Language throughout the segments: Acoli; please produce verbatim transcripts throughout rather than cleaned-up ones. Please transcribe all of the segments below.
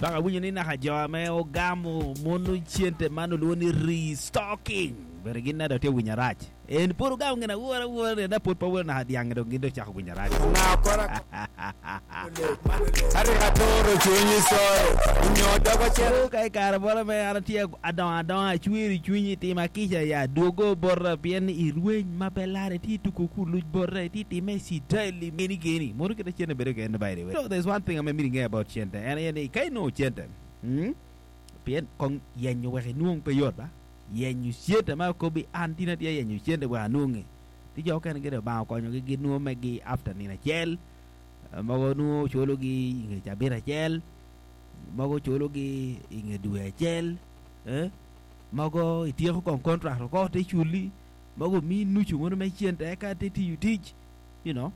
Baka winyo ni naka jo ame ogamo mono cente man olwongo ni restocking bene gin nada tye winyo arac. En pud ogamo gin awora awora ni na pud pe welo naka dyang dong gin dong ocako winyo arac. Onga kora Ariko atoro cwinyi coro onyo dogo cito. O ka i kare moro me an atye adongo adonga acwero i cwinyi tima kica ya dwogo bota pien irweny ma pe lare itye tuko kuluc bota itye time i citaili geni geni mono kite cente bedo kene by the way. So there's one thing ame myero inge about cente en aye ni ka inongo cente mm, pien kong yenyo wek inwong pe yot ba yenyo cente ma okobi an tin atye yenyo cente wek anwongi ti jo okene gire Obanga okonyogi ginwongo megi after nino acel mogo nongo culogi inge cabit acel mogo culogi inge dwe acel eh? Mogo ityeko kong contract oko te culi mogo omiyi nucu mono me cente eka te tiyo tic you know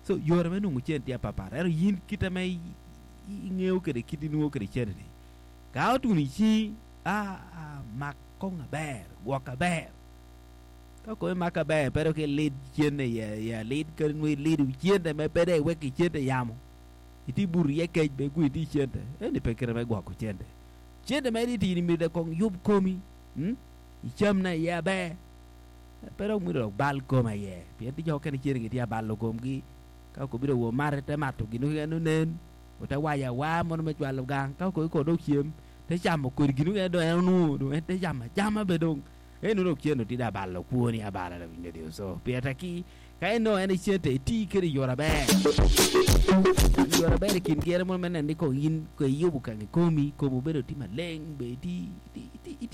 so yore me nongo cente tye apapat ento in kite me ingeo kede kit inwongo kede cente ni ka otuno icingi ah, ah, mak kong aber gwok aber ka komi mak aber pe dok ilid cente iye iye alid kadi nongo ilido cente me pe dong iwek cente yamo iti buto iye kec be gwi iti cente eni pe kite me gwoko cente cente ma itye tini myero kong yub komi mm? icam na iye aber pe dok myero dok bal kom aye pien ti jo okene cente gitye abalo komgi ka okobi dong wo mate te mato gin okene onen ote wayo awa mono me cwalo gang ka okobi ko dong cem te camo kodi gin okene dong en onwongo dong en te camo acama be dong en dong cente tye abalo kwoni abala lawinyo so pire tek ki ka inongo en cente iti kede i yo aber yo aber i kin gere mono me neno ni kong in ko iyubo kang i komi komi obedo tye maleng be iti iti iti